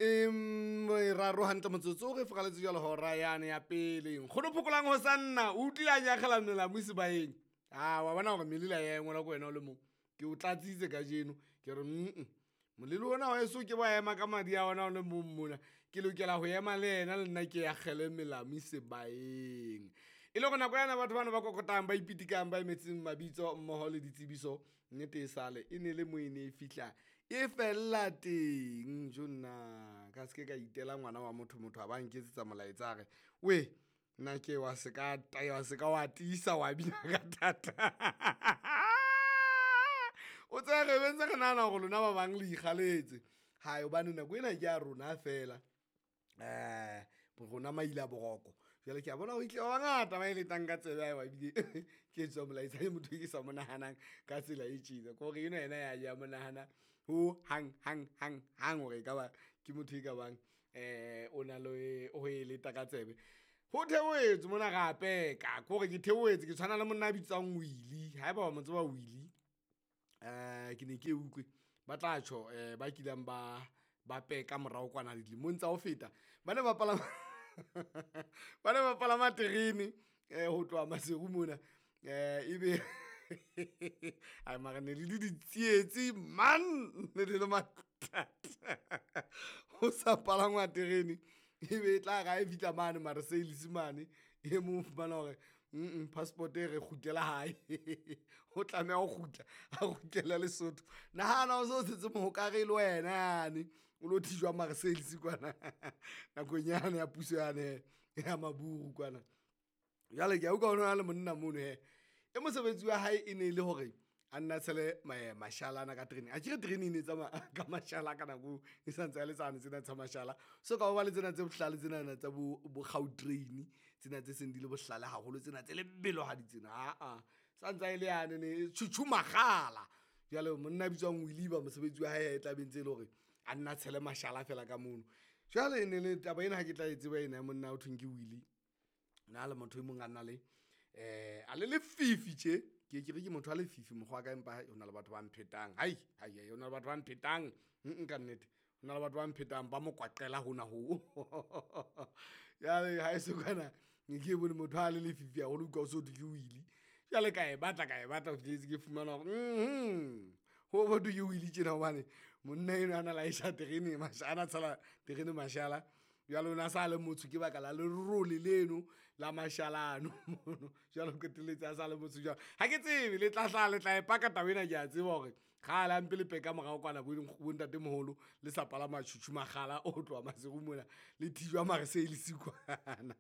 Meraro hantle motsotso re fokaletse jwalo hora yane ya pele. Nkgono Phokolang ho sanna o utlwile a nyakgela melamu sebaeng. A wa bona hore melila ya engwelwa ke wena o le mong. Ke o tlatsitse kajeno ke re molelo ona wa heso ke wa ema ka madi a ona o le mong mona. Ke lokela ho ema le yena le nna ke akgele melamu sebaeng. E le hore nako yana batho bana ba kokotang ba ipitikang ba emetseng mabitso mmoho le ditsebiso, nnete e sale e ne le mo e ne e fihla e fella teng. Jonna ka se ke ka itela ngwana wa motho, motho a ba nketsetsa molaetsa a re weh nna ke wa se ka wa se ka wa tiisa wa bina ka thata. O tsebe re be ntse re nahana hore lona ba bang le ikgaletse. Hai hobane nako ena ke ya rona fela, rona maila boroko. Jwale ke a bona ho itlile ba bangata ba e letang ka tsebe haeba ebile ke etswa molaetsa ke motho e ke sa mo nahanang ka tsela e tjena. Ke hore enwa yena ya ya mo nahana ho hang hang hang hang hore ekaba ke motho e ka bang o na le ho e leta ka tsebe. Ho theohetswe mona re a peka, ke hore ke theohetse ke tshwana le monna a bitswang Willy. Haeba wa mo tseba Willy, ke ne ke utlwe ba tla tjho ba kileng ba peka morao kwana dilemong tsa ho feta. Ba ne ba palama ba ne ba palama terene ho tloha Maseru mona ebe ai mara ne le le ditsietsi man, ne le le mathata. Ho sa palangwa terene ebe e tla re ha e fihla mane Marseilles mane, e mong o fumana hore passport e re kgutlela hae. O tlameha ho kgutla, a kgutlele Lesotho. Nahana o so tshetse mohokare e le wena yane o lo thijwa Marseilles kwana nakong yane ya puso yane ya maburu kwana. Jwale ke a utlwa ho na le monna mono hee, e mosebetsi wa hae e ne le hore a nna tshele mashala ana ka tereneng. Akere terene e ne e tsamaya ka mashala ka nako eo, e sa ntse le tsane tsena tsa mashala. So ka ho ba le tsena tse bohlale tsenana tsa bo Gautrain, tsena tse seng di le bohlale haholo tsena tse lebelohadi tsena aa. Sa ntsa e le yane tjhutjhu makgala. Jwale monna ya bitswang Willy eba mosebetsi wa hae e tla be ntse e le hore a nna tshele mashala feela ka mono. Jwale e ne le taba ena ha ke tla e tseba ena ya monna ho thweng ke Willy, nna le motho e mong a na le a le lefifi tje. Ke ye ke re ke motho a lefifi mokgwa wa ka, empa hona le batho ba mphetang. Hai hai hona le batho ba mphetang ka nnete, hona le batho ba mphetang ba mokwaqela hona ho. Jwale haeso kwana ne ke bone motho ha le lefifi haholo, utlwa ho so thwe ke Willy. Jwale ka e batla ka e batla ho fihletse ke fumana hore ho thwe ke Willy tjena hobane monna enwa a na laesha terene a na tshela terene mashala. Jwale o na sa le motsho ke baka la lerole leno la mashala ano mono. Jwale o qetelletse a sa le motsho jwalo. Ha ke tsebe le tla hlaha le tla e paka taba ena, ke a tseba hore kgale hampe le peka morao kwana bo ntatemoholo le sa palama tjhutjhu makgala o tloha Maseru mona le thijwa Marseilles kwana.